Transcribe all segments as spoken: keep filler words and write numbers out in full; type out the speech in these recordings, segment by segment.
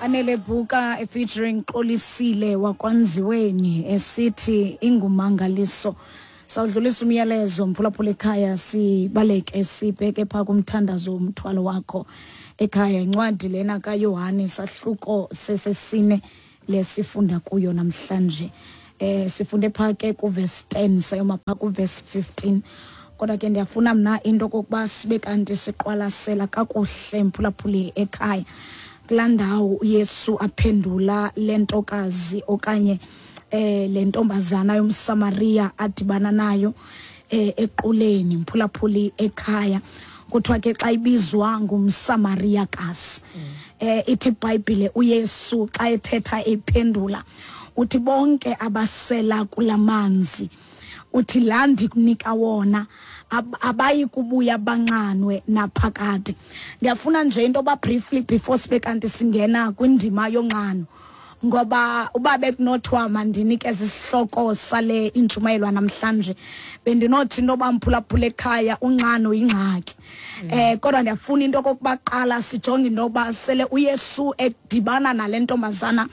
Anele Buka featuring Xolisile wakwanziweni esithi ingumangaliso. Sawudlulisa umyalezo mphulaphula ekhaya, sibaleke sibheke pha kumthandazo umthwalo wakho ekhaya. Incwadi lena kaYohane sahluko sesesine lesifunda kuyo namhlanje. Eh sifunde pha ke ku verse ten sayoma pha ku verse fifteen. Kodwa ke ndiyafuna mna into kokuba sibe kanti siqwalasela kakuhle mphulaphuli ekhaya. Kulaa ndawo uYesu aphendula lentokazi okanye eh lentombazana yomSamaria adibana nayo eh equleni mphulaphuli ekhaya. Kuthiwa ke xa ibizwa ngumSamariakazi, eh ithi iBhayibhile uYesu xa ethetha ephendula uthi bonke abasela kulamanzi uthi la ndikunika wona abayi kubuya banxanwe naphakade. Ndiyafuna nje into ba briefly before sibe kanti singena kwindima yonxano, ngoba uba bekunothwa mandinikeze isihloko sale intshumayelo namhlanje bendinothi into bamphulaphula ekhaya unxano ingxaki. Eh kodwa ndiyafuna into kokubaqala sijonge into yoba sele uYesu edibana nale ntombazana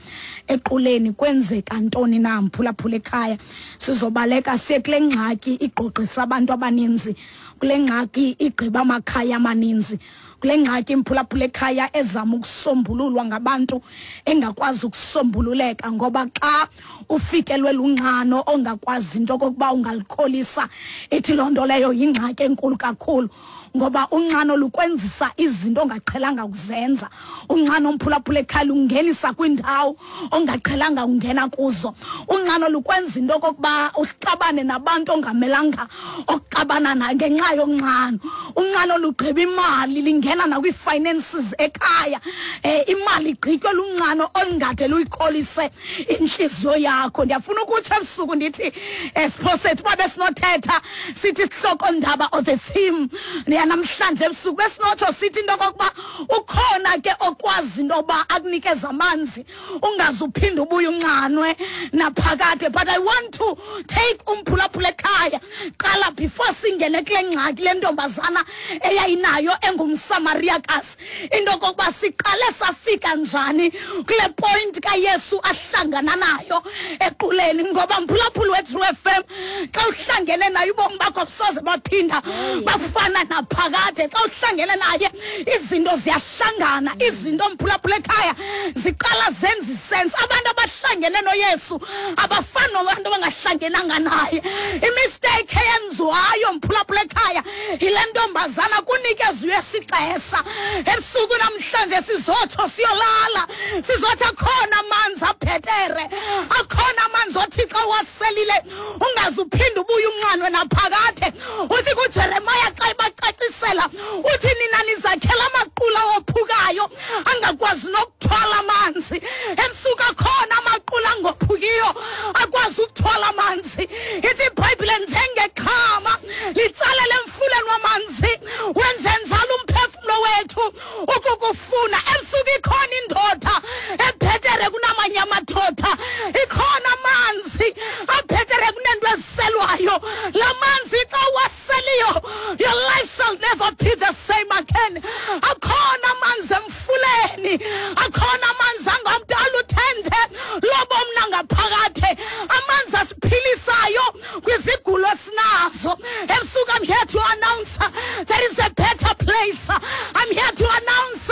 equleni kwenzeka ntoni na mphulaphula ekhaya. Sizobaleka siye kule ngxaki igqogqisa abantu abaninzi, kule ngxaki igqiba amakhaya amaninzi, kule ngxaki imphulaphula ekhaya ezama ukusombululwa ngabantu engakwazi ukusombululeka, ngoba xa ufikelwe lunxano ongakwazi into kokuba ungalikholisa ithi loo nto leyo yingxaki enkulu kakhulu, ngoba unxano lukwenzisa izinto ongaqhelanga kuzenza. Unxano umphulaphula ekhaya lungenisa kwindawo ongaqhelanga ungena kuzo. Unxano lukwenza into kokuba uxabane nabantu ongamelanga okuxabana naye ngenxa yonxano. Unxano lugqiba imali, lingena nakwi-finances ekhaya. Eh imali igqitywe lunxano olungade luyikholise intliziyo yakho. Ndiyafuna ukutsho ebusuku ndithi esiphosethu uba besinothetha sithi isihloko ndaba or the theme namhlanje ebusuku besinotsho sithi into kokuba ukhona ke okwazi into yoba akunikeza amanzi ungaze uphinde ubuye unxanwe naphakade. But I want to take umphulaphula ekhaya qala before singene kule ngxaki le ntombazana eyayinayo engumSamariakazi, into kokuba siqale safika njani kule point kaYesu ahlangana nayo equleni, ngoba mphulaphula we-True F M xa uhlangene nayo ubomi bakho abusoze baphinda bafana naphakade. Xa uhlangene naye izinto ziyahlangana, izinto mphulaphula ekhaya ziqala zenza isense. Abantu abahlangene noYesu abafani nabantu abangahlangenanga naye. Imistake eyenziwayo mphulaphula ekhaya yile ntombazana kunikezwe isixesha. Ebusuku namhlanje sizotsho siyolala, sizothi akhona amanzi aphetere, akhona amanzi oThixo waselile ungaze uphinde ubuye unxanwe naphakade. Uthi kuJeremiah xa ibacacisela uthi nina nizakhela amaqula ophukayo angakwazi nokuthwala amanzi. Ebusuku akhona amaqula angophukiyo akwazi ukuthwala amanzi. Ithi iBhayibhile njengexhama litsalele emfuleni wamanzi, wenze njalo umphefumlo wethu ukukufuna. Ebusuku ikhona indoda ebhetere kunamanye amadoda, ikhona amanzi abhetere kunento eziselwayo. La manzi xa uwaseliyo your life shall never be the same again. Akhona amanzi emfuleni, akhona amanzi angamdala uthende lobomi nangaphakade, amanzi asiphilisayo kwizigulo esinazo. Ebusuku I'm here to announce there is a better place. I'm here to announce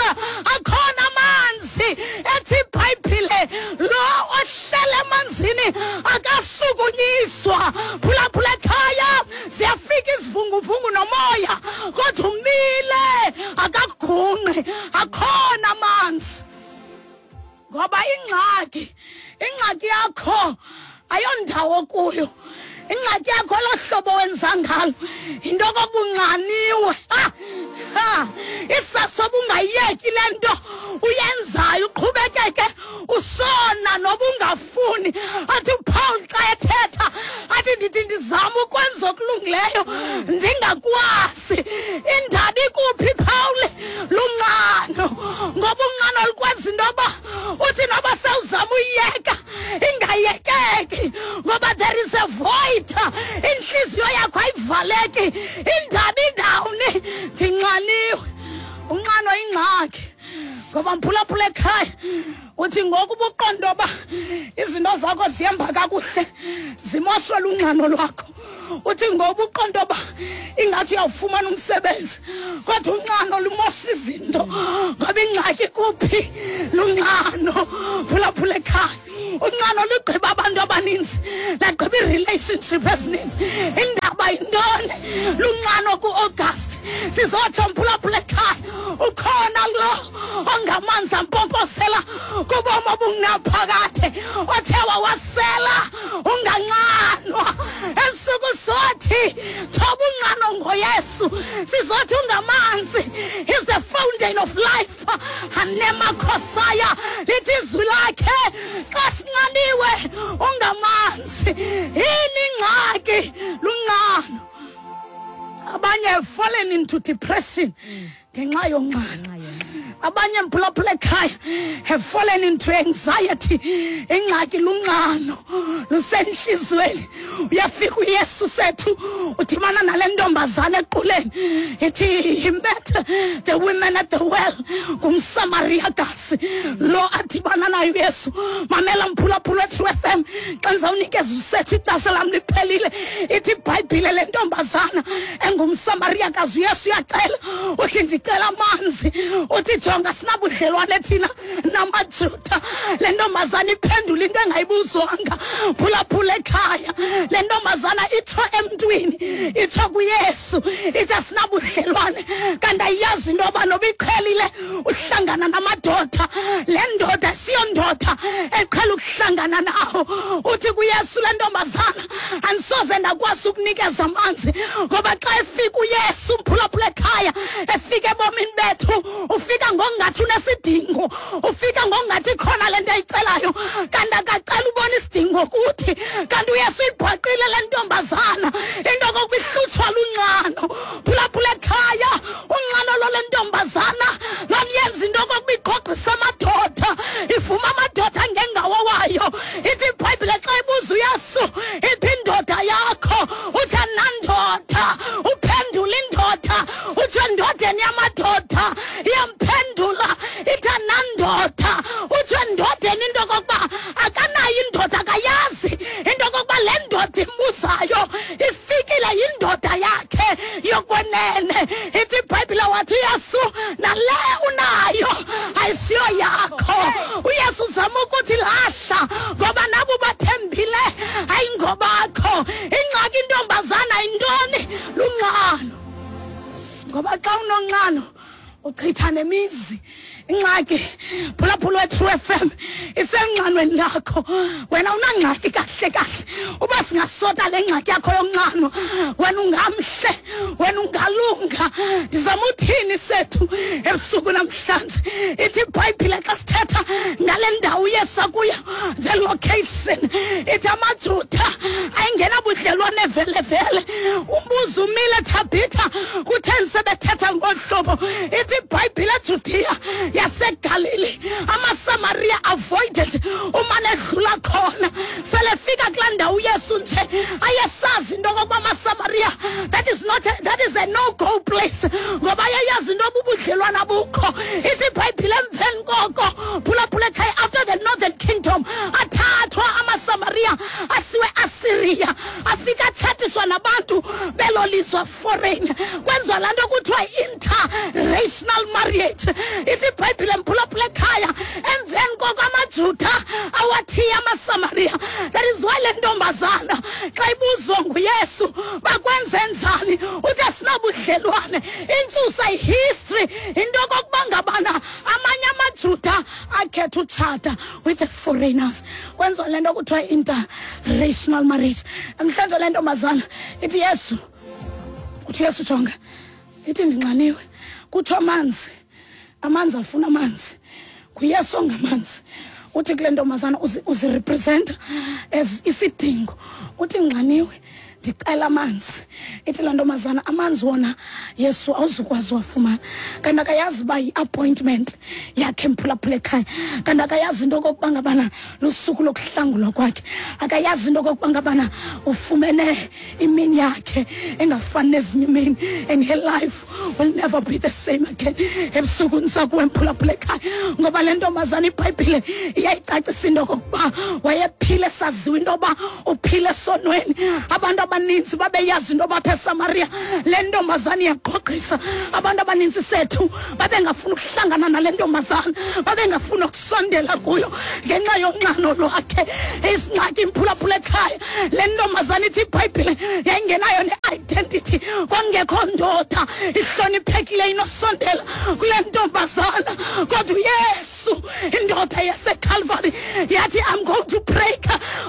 akhona amanzi ethi iBhayibhile lo ohlele emanzini akasukunyiswa. Phulaphula ekhaya ziyafika izivunguvungu nomoya kodwa umile akagungqi. Akhona amanzi, ngoba ingxaki ingxaki yakho ayondawo kuyo. Ingxaki yakho lo hlobo wenza ngalo into kokubunxaniwe. Ha isasoba ungayiyeki le nto uyenzayo uqhubekeke usona noba ungafuni. Athi uPaul xa ethetha athi ndithi ndizama ukwenza okulungileyo ndingakwazi. Indaba ikuphi Paul? Lunxano, ngoba unxano lukwenza into yoba uthi noba sewuzama uyiyeka ingayekeki, ngoba there is a void. Intliziyo yakho ayivaleki. Indaba indawuni ndinxaniwe. Unxano ingxaki. Ngoba mphulaphula ekhaya, uthi ngoku ubuqonda uba izinto zakho zihamba kakuhle, zimoshwe lunxano lwakho. Uthi ngoba uqonda uba ingathi uyawufumana umsebenzi, kodwa unxano lumosha izinto. Ngoba ingxaki kuphi? Lunxano. Phulaphula ekhaya, unxano lugqiba abantu abaninzi, lagqiba ii-relationship ezininzi. Indaba yintoni? Lunxano ku-August. Sizotsho mphulaphula ekhaya, ukhona lo ongamanzi ampomposela kubomi obungunaphakade, othe wawasela unganxanwa. Ebusuku sothi thoba unxano ngoYesu. Sizothi ungamanzi, he's the fountain of life. Anemakhosaya, lithi izwi lakhe xa sinxaniwe ungamanzi. Yini ingxaki? Lunxano. Abanye have fallen into depression ngenxa yonxano. Abanye mphulaphula ekhaya have fallen into anxiety. Ingxaki lunxano lusenhliziyweni. Uyafika uYesu sethu, udibana nale ntombazana equleni, ithi he met the women at the well, ngumSamariyakazi lo adibana naye uYesu. Mamela mphulaphula eTrue F M, xa ndizawunikeza usethu ixesha lam liphelile. Ithi iBhayibhile le ntombazana engumSamariyakazi, uYesu uyacela, uthi ndicela amanzi. Uthi jonga, sinabudlelwane thina namaJuda. Le ntombazana iphendula into engayibuzwanga. Phulaphula ekhaya, le ntombazana itsho emntwini, itsho kuYesu, ithi asinabudlelwane, kanti ayiyazi into yoba noba iqhelile uhlangana namadoda, le ndoda siyondoda eqhela ukuhlangana nawo. Uthi kuYesu le ntombazana, andisoze ndakwazi ukunikeza amanzi, ngoba xa efika uYesu mphulaphula ekhaya, efika ebomini bethu, ufika ngongathi unesidingo, ufika ngongathi khona le nto ayicelayo, kanti akacela ubona isidingo kuthi. Kanti uYesu uyibhaqile le ntombazana into okokuba ihlutshwa lunxano. Phulaphula ekhaya, unxano lole ntombazana lwaluyenza into okokuba igqogqise amadoda, ivuma amadoda angengawo wayo. Ithi iBhayibhile xa ibuza uYesu, iphi indoda yakho? Uthi anandoda. Uphendula indoda, utsho endodeni yamadoda. Iyamphendula ithi anandoda. Utsho endodeni into okokuba akanayo indoda, akayazi into okokuba le ndoda imbuzayo ifikile, yindoda yakhe yokwenene. Ithi iBhayibhile wathi uYesu, nale unayo ayisiyo yakho. uYesu uzama ukuthi lahla, ngoba nabo bathembile ayingobakho. Ingxaki intombazana yintoni? Lunxano. Ngoba xa unonxano uchitha nemizi. Ingxaki phulaphula weTrue F M isengxanweni lakho. Wena unangxaki kahle kahle. Uba singasota le ngxaki yakho yonxano, wena ungamhle, wena ungalunga. Ndizama uthini sethu ebusuku namhlanje? Ithi iBhayibhile xa sithetha ngale ndawo uYesu akuyo, the location, ithi amaJuda ayingenabudlelwane vele vele. Umbuzo umile Thabitha, kutheni sebethetha ngolu hlobo? Ithi iBhayibhile eJudiya yaseGalili, amaSamariya avoided umane edlula khona. Selefika kulaa ndawo uYesu nje ayesazi into okokuba amaSamariya, that is not a, that is a no go place, ngoba ayeyazi into yoba ubudlelwane bukho. Ithi iBhayibhile emveni koko, phulaphula ekhaya, after the northern kingdom athathwa amaSamariya asiwe Assyria, afika atshatiswa nabantu belo lizwe foreign, kwenziwa laa nto kuthiwa interracial marriage. Ithi iBhayibhile mphulaphula ekhaya, emveni koko amaJuda awathiya amaSamariya. That is why le ntombazana xa ibuzwa nguYesu bakwenze njani, uthi asinabudlelwane. Intsusa yihistory into okokuba ngabana amanye amaJuda akhetha utshata with the foreigners, kwenziwa le nto kuthiwa interracial marriage. Namhlanje le ntombazana ithi Yesu, uthi Yesu jonga, ithi ndinxaniwe, kuthiwa amanzi, amanzi afuna amanzi, nguYesu ongamanzi. Uthi kule ntombazana uzirepresenta as isidingo, uthi ngxaniwe, Ndicela amanzi. Ithi laa ntombazana, amanzi wona Yesu awuzukwazi wafumana. Kanti akayazi uba yi-appointment yakhe, mphulaphula ekhaya. Kanti akayazi into okokuba ngabana lusuku lokuhlangulwa kwakhe. Akayazi into okokuba ngabana ufumene imini yakhe engafani nezinye imini, and her life will never be the same again. Ebusuku ndisakuwe, mphulaphula ekhaya, ngoba le ntombazana iBhayibhile iyayicacisa into okokuba wayephile saziwa into yoba uphile esonweni. Abantu abaninzi babeyazi into yoba apha eSamaria le ntombazana iyagqogqisa. Abantu abaninzi sethu babengafuni ukuhlangana nale ntombazana, babengafuni ukusondela kuyo ngenxa yonxano lwakhe. Isingxaki, imphulaphula ekhaya, le ntombazana ithi iBhayibhile yayingenayo ne-identity. Kwakungekho ndoda ihloniphekileyo inosondela kule ntombazana, kodwa uYesu, indoda yaseCalvary, yathi, "I'm going to break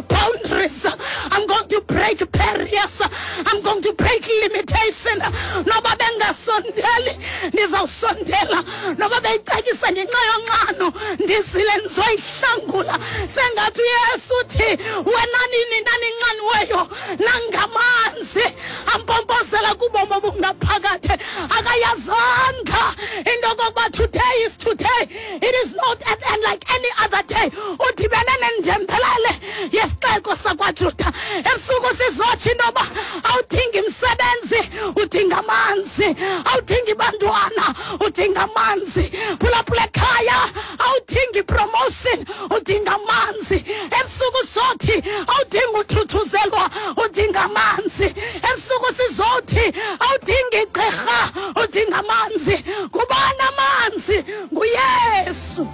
boundaries, I'm going to break barriers, I'm going to break limitation. Noba bengasondeli, ndizawusondela. Noba beyicekisa ngenxa yonxano, ndizile ndizoyihlangula." Sengathi uYesu uthi, "Wena nini naninxaniweyo, nangamanzi ampompozela kubomi obungaphakathi." Akayazanga into okokuba today is today, it is not at end like any other day. Udibene nendembelele yesixeko sakwaJuda. Ebusuku sizotsho into yoba awudingi msebenzi, udinga amanzi. Awudingi bantwana, udinga amanzi. Phulaphula ekhaya, awudingi promotion, udinga amanzi. Ebusuku sothi awudingi uthuthuzelwa, udinga amanzi. Ebusuku sizothi awudingi igqirha, udinga amanzi. Ngubani amanzi? NguYesu.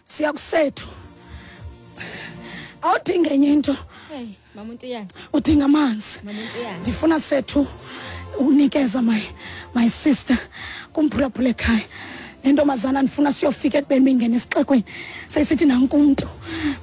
Siyakusethu, awudingi enye into. Hey, Mama Ntiyane. Udinga amanzi. Mama Ntiyane. Ndifuna sethu unikeza my my sister kumphulaphula ekhaya. Le ntombazana ndifuna siyofika ekubeni bingena esixekweni, seyisithi, "Nanku umntu,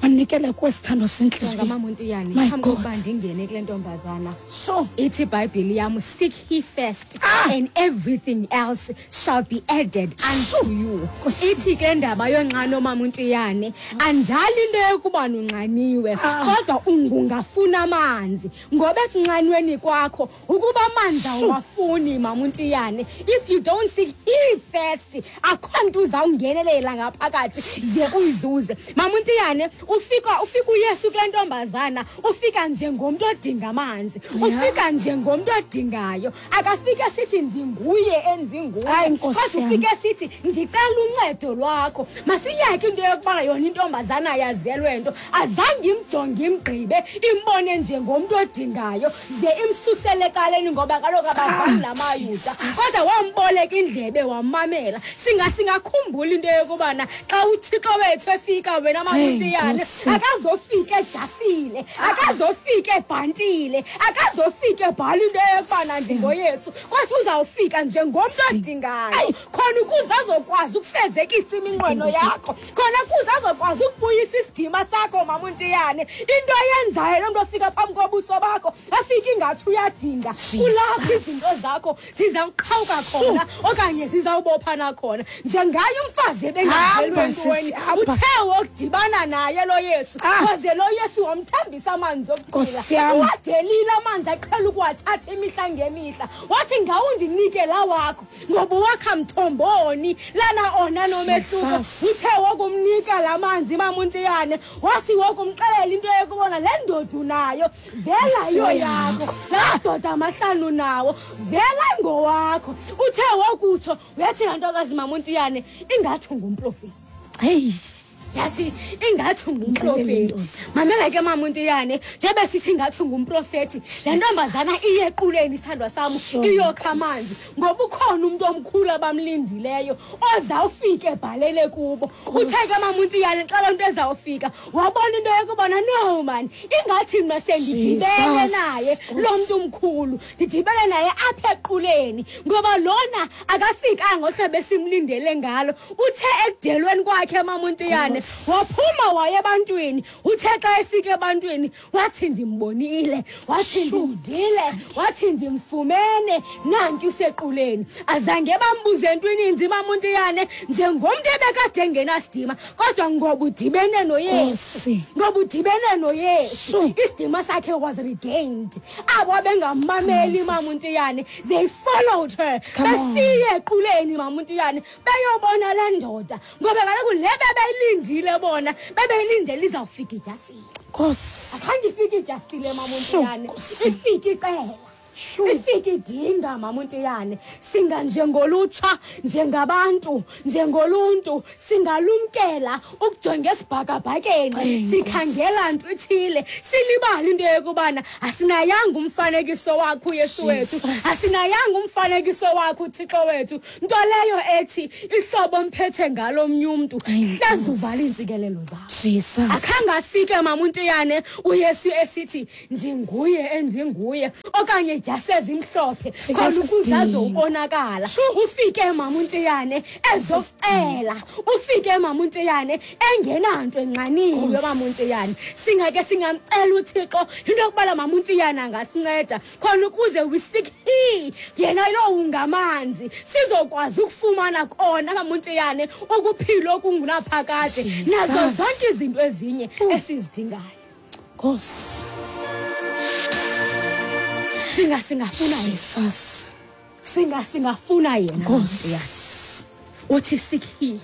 manikele kuwe, sithandwa sentliziyo." Mama Ntiyane, My phambi God. kokuba ndingene kule ntombazana, So ithi iBhayibhile yam, "Seek ye first Ah! and everything else shall be added unto you." Nkosi. Ithi ke ndaba yonxano, Mama Ntiyane, andali into yokuba nunxaniwe, Ah. kodwa ungungafuna amanzi, ngoba ekunxanweni kwakho ukuba amanzi Shu. awuwafuni, Mama Ntiyane. If you don't seek ye first, akho nto uzawungenelela ngaphakathi ze uyizuze. Mama Ntiyane, ufika ufika uYesu kule ntombazana, ufika njengomntu odinga amanzi, ufika njengomntu odingayo. Akafike sithi, "Ndinguye endinguye," Hayi, Nkosi kodwa yam. ufike sithi, "Ndicela uncedo lwakho." Masiyeke into yokubana yona intombazana yazelwe nto, azange imjonge imgqibe, imbone njengomntu odingayo ze imsusele ecaleni, ngoba kaloku abavani Ah, namaYuda. Jesus. Kodwa wamboleka indlebe, wamamela. Singa singakhumbula into yokubana xa uThixo wethu efika, wena Mama Ntiyane, Nkosi. akazofika ejasile, akazofika ebhantile, akazofika ebhala into yokubana ndingoYesu, kodwa uzawufika njengomntu odingayo, khona ukuze azokwazi ukufezekisa iminqweno yakho, khona kuze azokwazi ukubuyisa isidima sakho, Mama Untiyane. Into ayenzayo lo mntu ofika phambi kobuso bakho, afike ingathi uyadinga, kulapho izinto zakho zizawuqhawuka khona okanye zizawubophana khona, njengaye umfazi ebengazelwe Hamba, ntweni. sisi, hamba. Uthe wokudibana naye lo Yesu, Ah. waze lo Yesu wamthambisa amanzi okuphila. Nkosi yam. Wadelile amanzi aqhela ukuwathatha imihla ngemihla, wathi, "Ngawundinike la wakho, ngoba wakha mthomboni lana ona nomehluko." Jesus. Uthe wokumnika la manzi, Mama Untiyane, wathi wokumxelela into yokubona le ndoda unayo vela Asiyo iyo yakho, yakho. laa doda amahlanu nawo vela ngowakho. Uthe wokutsho, uyathi laa ntokazi, Mama Untiyane, ingathi ungumprofeti. Heyi. Yathi ingathi ungumprofeti. Nxelele. Mamela ke, Mama Untiyane, njebe sithi ingathi ungumprofeti, le ntombazana iye equleni, isithandwa sam, Sure, iyokha amanzi, ngoba ukhona umntu omkhulu abamlindileyo ozawufika ebhalele kubo. Uthe ke, Mama Untiyane, xa loo nto ezawufika, wabona into yokubona, no man, ingathi mna sendidibene Jesus. naye lo mntu mkhulu, ndidibene naye apha equleni, ngoba lona akafikanga ngohlobo esimlindele ngalo. Uthe ekudelweni kwakhe, Mama Untiyane, Waphuma waye ebantwini. Uthe xa efika ebantwini wathi ndimbonile, wathi ndimvile, wathi ndimfumene, nanki usequleni. Azange bambuze into eninzi maMontiyane njengomntu ebekade engenasidima, kodwa ngoba udibene noYesu, ngoba udibene noYesu, isidima sakhe was regained. Abo bengamameli maMontiyane, they followed her. Besiye equleni maMontiyane beyobona le ndoda, ngoba kaloku le bebeyilindile bona, bebeyilindele izawufika idyasile. Nkosi. Akhange ifike idyasile maMontiyane, ifike icela. Ifike idinga maMontiyane. Singa njengolutsha, njengabantu, njengoluntu, singalumkela ukujonga esibhakabhakeni, sikhangela nto ithile, silibale into yokubana asinayanga umfanekiso wakho uYesu wethu, asinayanga umfanekiso wakho uThixo wethu. Nto leyo ethi ihlobo mphethe ngalo omnye umntu hlaze uvala iintsikelelo zakho. Akhange afike maMontiyane uYesu esithi ndinguye endinguye okanye sezimhlophe khona ukuze azobonakala. Ufike maMontiyane ezocela, ufike maMontiyane engenanto enqaniwe maMontiyane. Singake singamcela uThixo into yokubala maMontiyane angasinceda khona ukuze we seek he yena lo ungamanzi, sizokwazi ukufumana kona maMontiyane ukuphila okungunaphakade nazo zonke izinto ezinye esizidingayo. Nkosi. Singa singafuna Jesus. Singa singafuna yena. Nkosi. Uthi seek he.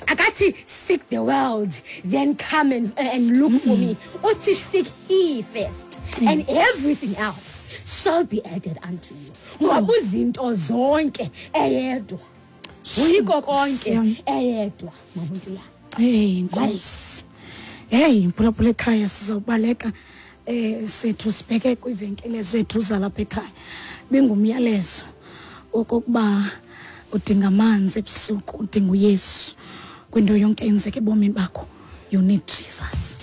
Akathi seek the world, then come and, and look mm -mm. for me. Uthi seek he first, and everything else shall be added unto you. Ngoba izinto zonke eyedwa. Uyiko konke eyedwa maMontiyane. Hey Nkosi. Hey mphulaphula ekhaya, sizawubaleka eh sethu sibheke kwivenkile zethu zalapha ekhaya. Bingumyalezo okokuba udinga amanzi ebusuku, udinga uYesu kwinto yonke eyenzeka ebomini bakho. You need Jesus.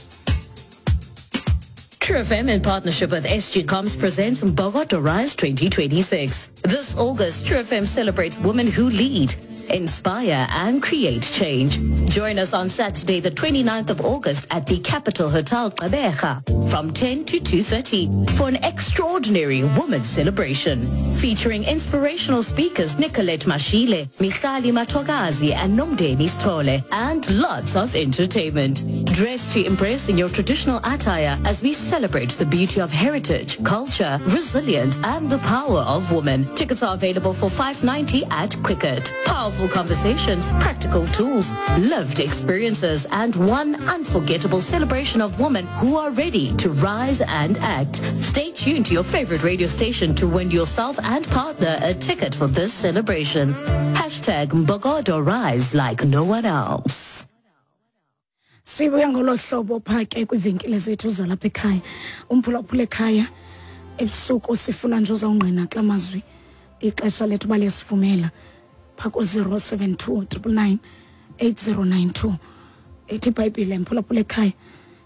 True F M in partnership with S G Comms presents Mbokodo Rise twenty twenty-six. This August, True F M celebrates women who lead, inspire and create change. Join us on Saturday the twenty-ninth of August at the Capital Hotel Gqeberha from ten to two thirty for an extraordinary women's celebration featuring inspirational speakers Nicolette Mashile, Michali Matogazi and Nomdeni Stole, and lots of entertainment. Dress to impress in your traditional attire as we celebrate the beauty of heritage, culture, resilience and the power of women. Tickets are available for five ninety at Quicket. Powerful conversations, practical tools, lived experiences, and one unforgettable celebration of women who are ready to rise and act. Stay tuned to your favorite radio station to win yourself and partner a ticket for this celebration. Hashtag Mbokodo Rise like no one else. Sibuya ngolo hlobo pha ke kwivenkile zethu zalapha ekhaya. Umphulaphula ekhaya ebusuku sifuna nje uzawungqina kula mazwi, ixesha lethu baliyasivumela pha ku zero seven two triple nine eight zero nine two. Ethi iBhayibhile mphulaphula ekhaya,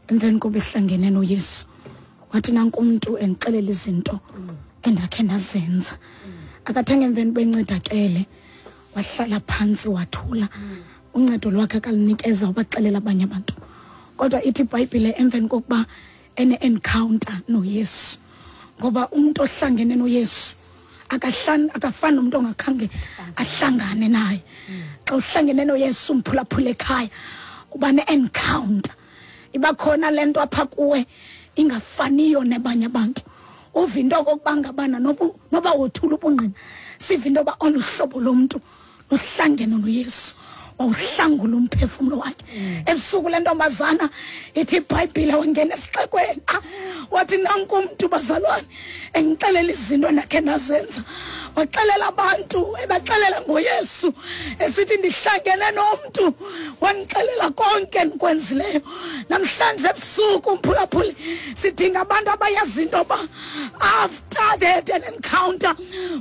emveni koba ehlangene noYesu wathi nanku umntu endixelela izinto endakhe ndazenza. Akathange emveni bencedakele, wahlala phantsi wathula. Uncedo lwakhe akalinikeza wabaxelela abanye abantu. Kodwa ithi iBhayibhile emveni kokuba ene-encounter noYesu, ngoba umuntu ohlangene noYesu akahlani akafani nomuntu ongakhange ahlangane naye. Xa uhlangene noYesu umphulaphula ekhaya uba ne-encounter, iba khona le nto apha kuwe ingafaniyo nebanye abantu. Uva into okokuba ngabana noba wothula ubungqina, siva into yoba olu hlobo lomntu luhlangene noYesu, wawuhlangula umphefumlo wakhe. Ebusuku le ntombazana ithi iBhayibhile wangena esixekweni, wathi nanku umntu bazalwane engixelela izinto endakhe ndazenza. Waxelela abantu, ebaxelela ngoYesu esithi ndihlangene nomntu wandixelela konke endikwenzileyo. Namhlanje ebusuku mphulaphuli sidinga abantu abayazi into yoba after they had an encounter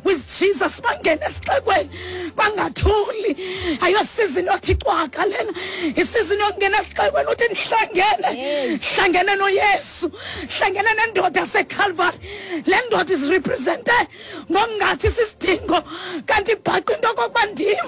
with Jesus bangene esixekweni bangathuli. Ayosizini yothi cwaka lena, isizini yokungena esixekweni uthi ndihlangene, hlangene noYesu, hlangene nendoda yaseCalvary. Le ndoda is represented ngokungathi sisidingo, kanti ibhaqa into okokuba ndim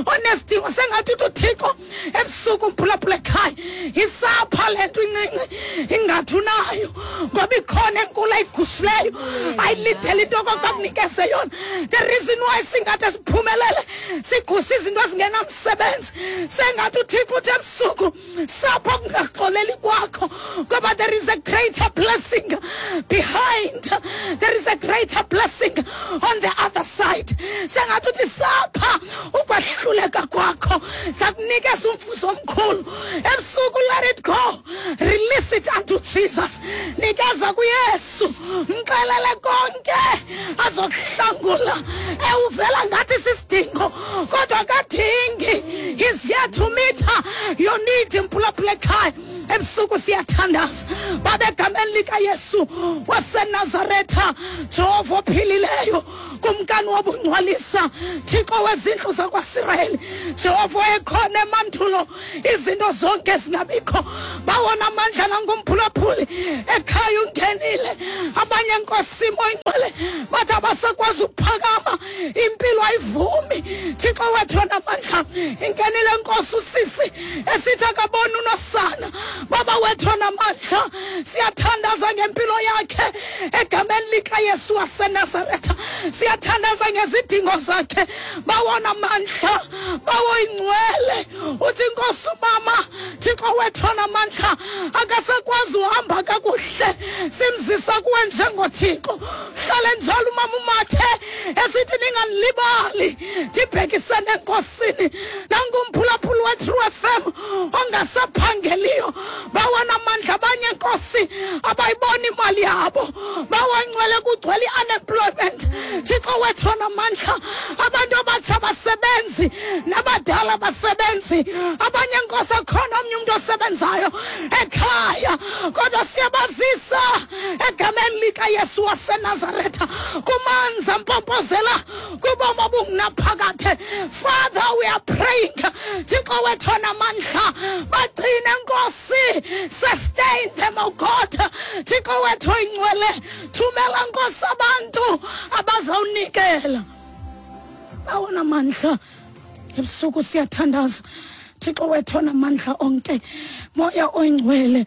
onesidingo. Sengathi uthi uThixo Ebusuku mphulaphula ekhaya, isapha le nto incinci ingathi unayo, ngoba ikhona enkulu ayigushileyo, ayilindele into okokuba kunikeze yona. The reason why singathi siphumelele sigusha izinto ezingenamsebenzi, sengathi uThixo uthi ebusuku sapha kungaxoleli kwakho, ngoba there is a greater blessing behind, there is a greater blessing on the other side. Sengathi uthi sapha ukwahluleka kwakho, sakunikeza umvuzo omkhulu. Ebusuku let it go, release it unto Jesus. Nikeza kuYesu, mxelele konke azokuhlangula. Ewuvela ngathi sisidingo, kodwa akadingi. He's here to meet your need. Mphulaphula ekhaya, ebusuku siyathandaza babe egameni likaYesu waseNazaretha, Jehova ophilileyo, kumkani wobungcwalisa, Thixo wezindlu zakwaSirayeli, Jehova ekhona emandulo izinto zonke zingabikho. Bawona amandla nangumphulaphuli ekhaya ungenile. Abanye Nkosi oyingcwele bathi abasakwazi ukuphakama, impilo ayivumi. Thixo wethu onamandla, ingenile Nkosi usisi esithi akabona unosana. Baba wethu onamandla, siyathandaza ngempilo yakhe egameni likaYesu waseNazaretha. Siyathandaza ngezidingo zakhe, bawona amandla, bawo ingcwele. Uthi Nkosi umama, Thixo wethu onamandla, akasakwazi uhamba kakuhle, simzisa kuwe njengoThixo. Hlale njalo umama uMathe esithi ninganilibali, ndibhekisene eNkosini. Nangumphulaphuli weTrue F M ongasaphangeliyo, bawona amandla. Abanye Nkosi abayiboni imali yabo, bawangcwele kugcwele i-unemployment. Thixo wethu onamandla, abantu abatsha abasebenzi nabadala abasebenzi. Abanye Nkosi akhona omnye umuntu osebenzayo ekhaya, kodwa siyabazisa egameni likaYesu waseNazaretha kumanzi ampompozela kubomi obungunaphakade. Father, we are praying, Thixo wethu onamandla, bagcine Nkosi, sustain them, oh God. Thixo wethu oyingcwele, thumela Nkosi abantu abazawunikela. Bawona amandla, ebusuku siyathandaza. Thixo wethu onamandla onke, moya oyingcwele,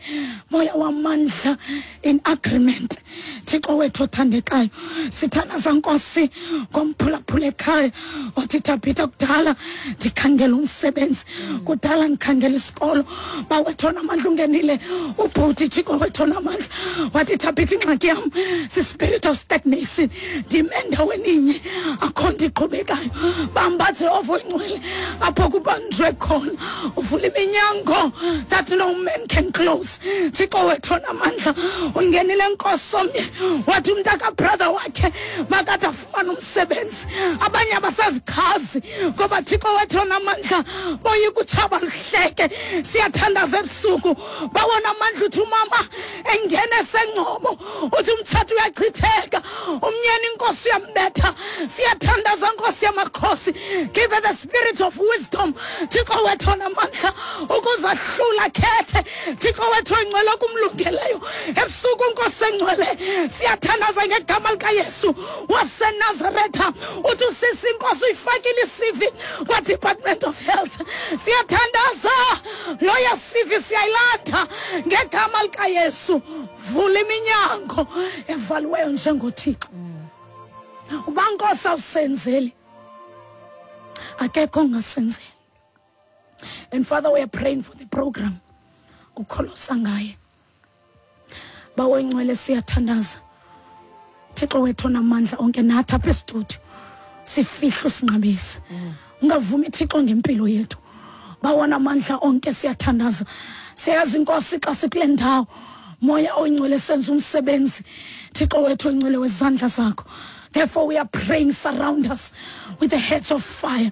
moya wamandla in agreement. Thixo wethu othandekayo, sithandaza Nkosi ngomphulaphula ekhaya othi Thabitha, kudala ndikhangela umsebenzi, kudala ndikhangela isikolo. Bawethu onamandla, ungenile ubhuti. Thixo wethu onamandla, wathi Thabitha, ingxaki yam si-spirit of stagnation, ndime endaweni inye, akho nto iqhubekayo. Bamba Jehova oyingcwele apho kubanjwe khona, uvula iminyango that no man can close. Thixo wethu onamandla, ungenile Nkosi omnye wathi umntaka brother wakhe makade afumane umsebenzi. Abanye abasazichazi ngoba Thixo wethu onamandla boyika utshaba luhleke. Siyathandaza ebusuku, bawona amandla. Uthi umama engene sengcobo, uthi umtshato uyachitheka, umnyeni Nkosi uyambetha. Siyathandaza Nkosi yamakhosi, give her the spirit of wisdom, Thixo wethu onamandla, ukuzahlula khethe. Thixo wethu oyingcwele kumlungeleyo. Ebusuku Nkosi engcwele, siyathandaza ngegama likaYesu waseNazaretha. Uthi usisi Nkosi uyifakile i-C V kwa-Department of Health. Siyathandaza loya C V siyayilanda ngegama likaYesu. Vula iminyango evaliweyo njengoThixo. Uba Nkosi awusenzeli, akekho ongasenzeli. And Father, we are praying for the program ukholosa ngaye. Bawo ingcwele, siyathandaza Thixo wethu onamandla onke, nathi apha estudio sifihle usinqabise, ungavumi Thixo ngempilo yethu. Bawona amandla onke, siyathandaza. Siyazi Nkosi xa sikule ndawo, moya oyingcwele senza umsebenzi, Thixo wethu oyingcwele wezandla zakho. Therefore we are praying, surround us with the heads of fire.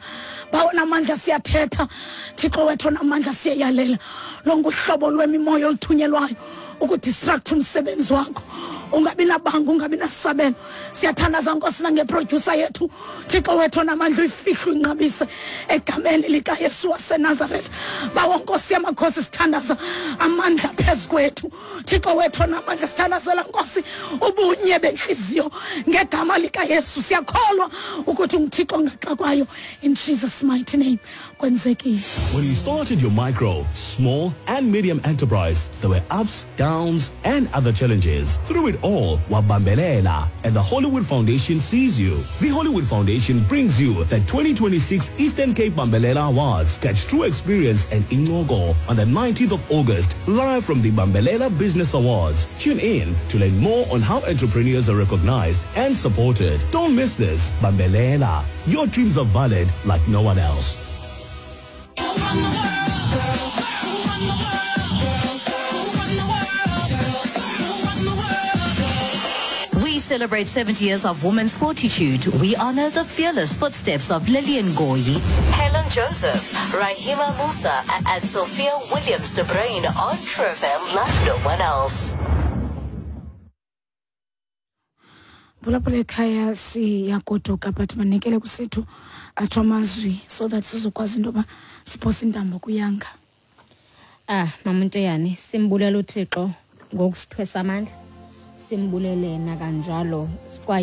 Bawona amandla, siyathetha Thixo wethu onamandla, siyayalela lonke uhlobo lwemimoya oluthunyelwayo ukudistract umsebenzi wakho, ungabi nabanga, ungabi nasabelo. Siyathandaza Nkosi nangeproducer yethu, Thixo wethu onamandla, uyifihle uyinqabise egameni likaYesu waseNazaretha. Bawo Nkosi yamakhosi, sithandaza amandla phezu kwethu, Thixo wethu onamandla. Sithandazela Nkosi ubunye benhliziyo ngegama likaYesu. Siyakholwa ukuthi unguThixo ongaxakwayo, in Jesus mighty name. Kwenzekile. When you started your micro, small, and medium enterprise, there were ups, downs, and other challenges. Through it all, wabambelela, and the Hollywood Foundation sees you. The Hollywood Foundation brings you the twenty twenty-six Eastern Cape Bambelela Awards. Catch True Experience and Incoko on the nineteenth of August, live from the Bambelela Business Awards. Tune in to learn more on how entrepreneurs are recognized and supported. Don't miss this. Bambelela. Your dreams are valid like no one else. We celebrate seventy years of women's fortitude. We honor the fearless footsteps of Lillian Goyi, Helen Joseph, Rahima Moosa, and Sophia Williams de Bruyn on True F M like no one else. Phulaphula ekhaya, siyagoduka, but manikele kusethu atsho amazwi so that sizokwazi into yoba siphose intambo kuyanga. Ah, Mama Nteyane, simbulela uThixo ngokusithwesa amandla. Simbulele nakanjalo kwaye